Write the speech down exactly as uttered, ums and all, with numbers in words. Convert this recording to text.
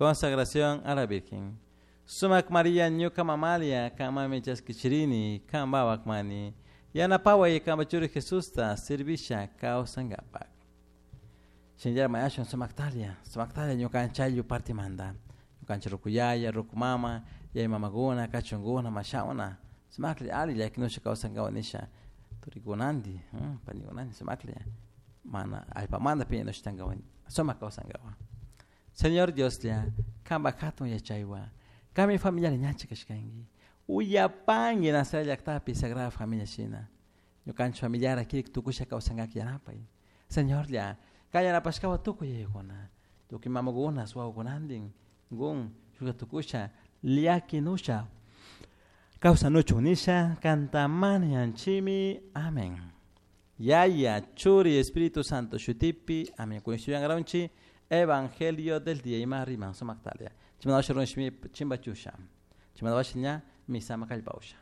Consagración a la Virgen. Sumac María ñuka mamalia kamami chaskichirini kambawak mani yanapaway kamba churi Jesusta servisha kawsankapak. Shinllar mayashun sumaktalia, sumaktalia ñukanchik partimanta. Ñukanchik rukuyaya, rukumama, yaya mamakuna, kachunkuna, mashawna, sumaklla ali llakinusha kawsankapak nisha turikunanti, panikunanti sumaklla mana allpamanta piñanusha sumak kawsankapak. Señor Dioslla, kanpak hatun yachaywan, kanmi familiar ñacha kashkanki. Uyapanki Nazaret llaktapi Sagrada Familia shina. Ñukanchik familiar kirik tukusha kawsankak yanapay. Señorlla, kay yanapashkawan tukuy yayakuna, tukuy mamakuna, wawakunantin, gun shuka tukusha llakinusha kawsanuchun nisha kantamani yanchimi. Amén. Yaya, Churi, Espíritu Santo, shutipi, amén. Kunshuyangaronchi, Evangelio del día ima riman sumaktalia. Chimandawasha runshimi chimbachusha. Chimandawasha ña misama kallpausha.